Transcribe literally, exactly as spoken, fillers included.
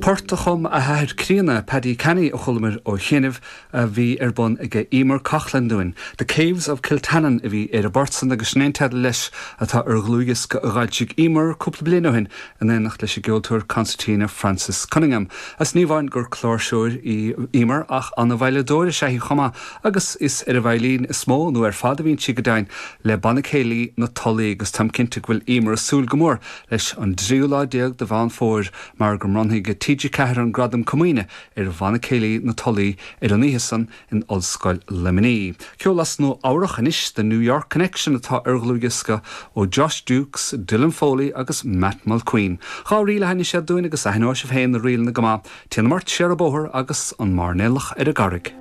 Port a chum a hathair críonna Paddy Canny a chualamar ó chianaibh a bhí ar bun ag Emer Coughlan dúinn. The Caves of Kiltannon a bhí ar an bport san agus sin teideal leis atá ar dhlúthdhiosca a d'fhoilsigh Emer cúpla bliain ó shin in éineacht leis an gceoltóir concertina Francis Cunningham. Is ní amháin gur cláirseoir í Emer ach an-veidhleadóir is ea í chomh maith agus is ar an veidhlín is mó nó ar fad a bhíonn sí go deimhin le Banna Céilí na Tulaí agus táim cinnte go bhfuil Emer ag súil go mór leis an dtríú lá déag de Mheán Fómhair mar go mbronnfaidh TG Ceathair an gradam comaoine ar Bhanna Céilí na Tulaí ar an oíche san in Ollscoil Luimnigh. Ceol as Nua-Eabhrac anois the New York Connection atá ar dhlúthdhiosca ó Josh Dukes, Dylan Foley agus Matt Mulqueen. Dhá ríl a sheinneann siad dúinn agus aithneoidh sibh féin na ríleanna go maith, Téanam ort siar an bóthar agus an mairnéalach ar an gcarraig.